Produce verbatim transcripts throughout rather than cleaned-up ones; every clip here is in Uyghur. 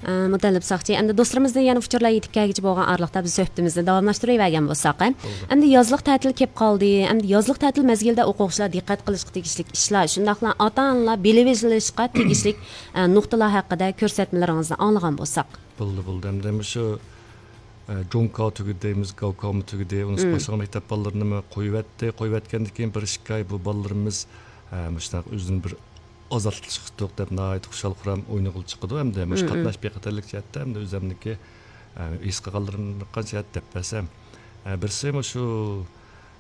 ئە، مۇتەللىپ ساقچى، ئەمدى دوستلىرىمىزدىن يەنە ئۇچۇرلار يېتىپ كەلگۈچە بولغان ئارىلىقتا بىز سۆھبىتىمىزنى داۋاملاشتۇرۇۋەرگەن بولساق، ئە. بولدى. ئەمدى يازلىق تەتىل كېلىپ قالدى. ئەمدى يازلىق تەتىل مەزگىلىدە ئوقۇغۇچىلار دىققەت قىلىشقا تېگىشلىك ئىشلار، شۇنداقلا ئاتا-ئانىلار بىلىۋېلىشقا تېگىشلىك، ئە، نۇقتىلار ھەققىدە كۆرسەتمىلىرىڭىزنى ئاڭلىغان بولساق. بولدى، بولدى. ئەمدى مۇشۇ، ئە، جۇڭكاۋ تۈگىدى دەيمىز، گاۋكاۋمۇ تۈگىدى، ئۇنىڭ باشقا مەكتەپ بالىلىرىنىمۇ قويۇۋەتتى. قويۇۋەتكەندىن كېيىن بىر ئىككى ئاي بۇ بالىلىرىمىز، ئە، مۇشۇنداق ئۆزىنى بىر ئازادلىق چىقتۇق دەپ ناھايىتى خۇشال-خۇرام ئوينىغىلى چىقىدۇ. ئەمدى مۇشۇ قاتناش بىخەتەرلىك جەھەتتە ئەمدى ئۆزۈمنىكى، ئە، ھېس قىلغانلىرىمنى قانچە دەپ بەرسەم، ئە، بىرسى مۇشۇ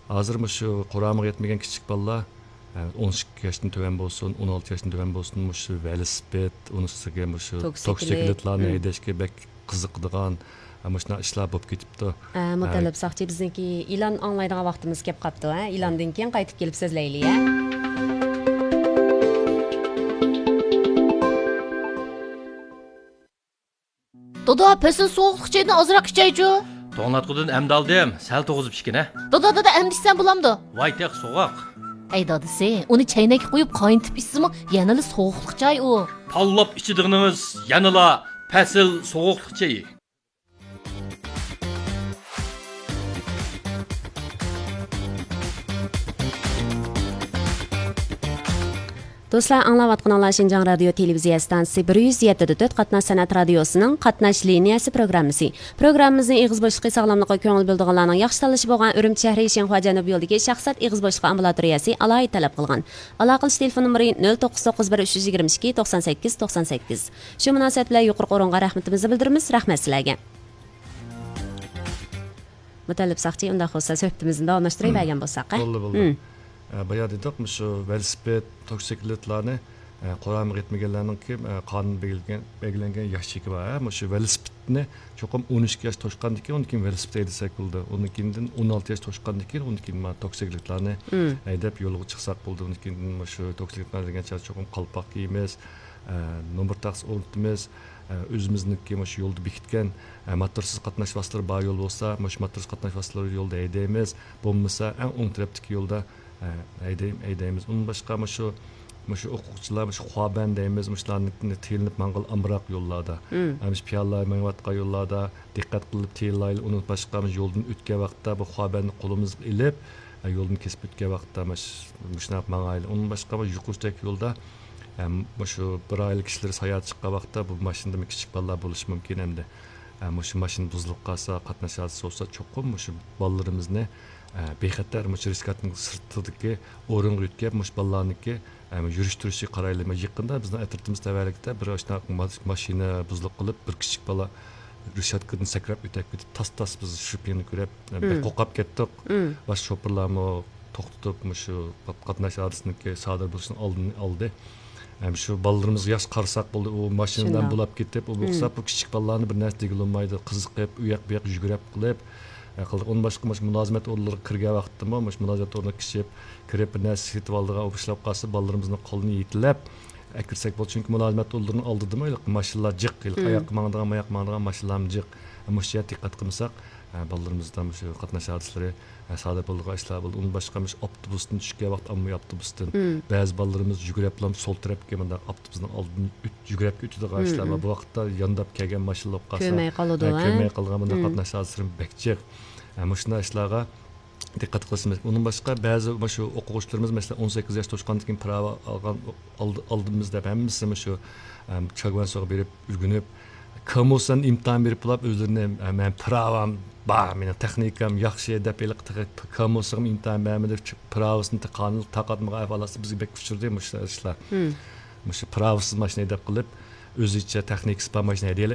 ھازىر مۇشۇ قۇرامىغا يەتمىگەن كىچىك بالىلار، ئە، ئون ئىككى ياشتىن تۆۋەن بولسۇن، ئون ئالتە ياشتىن تۆۋەن بولسۇن، مۇشۇ ۋېلىسىپىت، ئۇنىڭ ئۈستىگە مۇشۇ توكسىكلىت. توكسىكلىتلارنى ھەيدەشكە بەك قىزىقىدىغان، ئە، مۇشۇنداق ئىشلار بولۇپ كېتىپتۇ. ئە، مۇتەللىپ ساقچى، بىزنىڭكى ئېلان ئاڭلايدىغان ۋاقتىمىز كېلىپ قاپتۇ، ھە؟ ئېلاندىن كېيىن قايتىپ كېلىپ سۆزلەيلى، ھە؟ دادا، پەسىل سوغۇقلۇق چايدىن ئازراق ئىچەيچۇ. توڭلاتقۇدىن ئەمدى ئالدىم، سەل توغۇزۇپ ئىچكىنە. دادا، دادا، ئەمدى ئىچسەم بولامدۇ؟ ۋاي تېخى سوغۇق. ئەي دادىسى، ئۇنى چەينەككە قۇيۇپ قاينىتىپ ئىچسىمۇ يەنىلا سوغۇقلۇق چاي ئۇ. تاللاپ ئىچىدىغىنىڭىز يەنىلا پەسىل سوغۇقلۇق چېيى. دوستلار، ئاڭلاۋاتقىنىڭلار شىنجاڭ رادىيو تېلېۋىزىيە ئىستانسىسى بىر يۈز يەتتە دە تۆت قاتناش سەنئەت رادىيوسىنىڭ قاتناش لىنىيەسى پروگراممىسى. پروگراممىمىزنىڭ ئېغىز بوشلۇقى ساغلاملىققا كۆڭۈل بۆلىدىغانلارنىڭ ياخشى تاللىشى بولغان ئۈرۈمچى شەھىرى شىنخۇا جەنۇبىي يولىدىكى شەخسەت ئېغىز بوشلۇقى ئامبۇلاتورىيەسى ئالاھىدە تەلەپ قىلغان. ئالاقىلىشىش تېلېفون نومۇرى نۆل توققۇز توققۇز بىر ئۈچ يۈز يىگىرمە ئىككى توقسان سەككىز توقسان سەككىز. شۇ مۇناسىۋەت بىلەن يۇقىرىقى ئورۇنغا رەھمىتىمىزنى بىلدۈرىمىز. رەھمەت سىلەرگە. مۇتەللىپ ساقچى، ئۇنداق بولسا سۆھبىتىمىزنى داۋاملاشتۇرۇۋەرگەن بولساق، ھە؟ بولدى، بولدى. مم. ئە، بايا دېدۇق، مۇشۇ ۋېلىسىپىت، توكسىكلىتلارنى، ئە، قۇرامىغا يەتمىگەنلەرنىڭكى، ئە، قانۇن بەلگىلىگەن، بەلگىلەنگەن ياش چېكى بار، ھە؟ مۇشۇ ۋېلىسىپىتنى چوقۇم ئون ئىككى ياش توشقاندىن كېيىن، ئۇندىن كېيىن ۋېلىسىپىت ھەيدىسەك بولىدۇ. ئۇندىن كېيىن ئون ئالتە ياش توشقاندىن كېيىن، ئۇندىن كېيىن مانا توكسىكلىتلارنى ھەيدەپ يولغا چىقساق بولىدۇ. ئۇندىن كېيىن مۇشۇ توكسىكلىتلار دېگەن چاغدا چوقۇم قالپاق كىيىمىز، ئە، نومۇر تاختىسى ئورنىتىمىز، ئە، ئۆزىمىزنىڭكى مۇشۇ يولدا بېكىتكەن، ئە، ماتورسىز قاتناش ۋاسىتىلىرى بار يول بولسا، مۇشۇ ماتورسىز قاتناش ۋاسىتىلىرى يولدا ھەيدەيمىز. بولمىسا، ئەڭ ئوڭ تەرەپتىكى يولدا، ئە، ھەيدەي-، ھەيدەيمىز. ئۇندىن باشقا مۇشۇ، مۇشۇ ئوقۇغۇچىلار مۇشۇ خۇابەن دەيمىز، مۇشۇلارنى تېيىلىپ ماڭغىلى ئامراق يوللاردا. ئە، مۇشۇ پىيادىلەر مېڭىۋاتقان يوللاردا دىققەت قىلىپ تېيىلايلى. ئۇندىن باشقا مۇشۇ يولدىن ئۆتكەن ۋاقىتتا بۇ خۇابەننى قولىمىزغا ئېلىپ، ئە، يولدىن كېسىپ ئۆتكەن ۋاقىتتا مۇش-، مۇشۇنداق ماڭايلى. ئۇندىن باشقا مۇشۇ يۇقىرىدىكى يولدا، ئە، مۇشۇ بىر ئائىلە كىشىلىرى ساياھەتكە چىققان ۋاقىتتا بۇ ماشىنىدا كىچىك بالىلار بولۇشى مۇمكىن ئەمدى. ئە، مۇشۇ ماشىنا بۇزۇلۇپ قالسا، قاتناش ھادىسىسى بولسا، چوقۇم مۇشۇ بالىلىرىمىزنى، ئە، بىخەتەر مۇشۇ رىسكاتنىڭ سىرتىدىكى ئورۇنغا يۆتكەپ، مۇشۇ بالىلارنىڭكى، ئە، يۈرۈشتۈرۈشىگە قارايلى. يېقىندا بىزنىڭ ئەترىتىمىز تەۋەلىكىدە بىر ئاشۇنداق ما-، ماشىنا بۇزۇلۇپ قېلىپ، بىر كىچىك بالا رېشاتكىدىن سەكرەپ ئۆتۈپ كېتىپ، تاس-تاس بىز شۇ كۈنى كۆرۈپ، ئە، بەك قورقۇپ كەتتۇق. باشقا شوپۇرلارمۇ توختىتىپ، مۇشۇ قاتناش ھادىسىنىڭكى سادىر بولۇشىنىڭ ئالدىنى ئالدى. ھەم شۇ بالىلىرىمىزغا ياخشى قارىساق بولدى. ئۇ ماشىنىدىن بولاپ كېتىپ، ئۇ بولسا بۇ كىچىك بالىلارنى بىر نەرسە دېگىلى بولمايدۇ. قىزىقىپ، ئۇ ياق بۇ ياققا يۈگۈرەپ قىلىپ، ئە، قىلدى. ئۇندىن باشقا مۇشۇ مۇلازىمەت ئورۇنلىرىغا كىرگەن ۋاقىتتىمۇ، مۇشۇ مۇلازىمەت ئورنىغا كىشىپ كىرىپ، بىر نەرسە سېتىۋالىدىغان ئۇ ئىشلاپ قالسا، بالىلىرىمىزنىڭ قولىنى يېتىلەپ ئەكىرسەك بولىدۇ. چۈنكى مۇلازىمەت ئورۇنلىرىنىڭ ئالدىدىمۇ ھېلىقى ماشىنىلار جىق، ھېلىقى ئاياققا ماڭىدىغان، ماياققا ماڭىدىغان ماشىنىلارمۇ جىق. مۇشۇ يەردە دىققەت قىلمىساق، ئە، بالىلىرىمىزدا مۇشۇ قاتناش ھادىسىلىرى، ئە، سادىر بولىدىغان ئىشلار بولدى. ئۇندىن باشقا مۇشۇ ئاپتوبۇستىن چۈشكەن ۋاقىت، ئاممىۋى ئاپتوبۇستىن بەزى بالىلىرىمىز يۈگۈرۈپلا سول تەرەپكە مۇنداق ئاپتوبۇسنىڭ ئالدىدىن ئۆت-، يۈگۈرۈپ ئۆتىدىغان ئىشلار بار. بۇ ۋاقىتتا يانداپ كەلگەن ماشىنىلار بولۇپ قالسا، كۆرمەي قالىدۇ، ھە، كۆرمەي قالىدىغان مۇنداق قاتناش ھادىسىلىرى بەك جىق. ئە، مۇشۇنداق ئىشلارغا دىققەت قىلىشىمىز. ئۇنىڭ باشقا بەزى مۇشۇ ئوقۇغۇچىلىرىمىز، مەسىلەن، ئون سەككىز ياش توشقاندىن كېيىن پىراۋا ئالغان، ئالدى-، ئالدىمىز دەپ ھەممىسى مۇشۇ، ئەم، چاگۋەنسوغا بېرىپ ئۆگىنىپ، كامۇسان ئىمتىھان بېرىپ بولاپ ئۆزلىرىنى، ئە، مەن پىراۋام بار، مېنىڭ تېخنىكام ياخشى دەپ ھېلىقى تېخى كامۇسىغىمۇ ئىمتىھان بەرمىدى، پىراۋىسىنى تاقاتمىغان ئەھۋالاتى بىزگە بەك ئۇچرىدى مۇشۇ ئىشلار. مۇشۇ پىراۋىسىز ماشىنا ھەيدەپ قىلىپ، ئۆزىچە تېخنىكىسى بار ماشىنا ھەيدەيلى،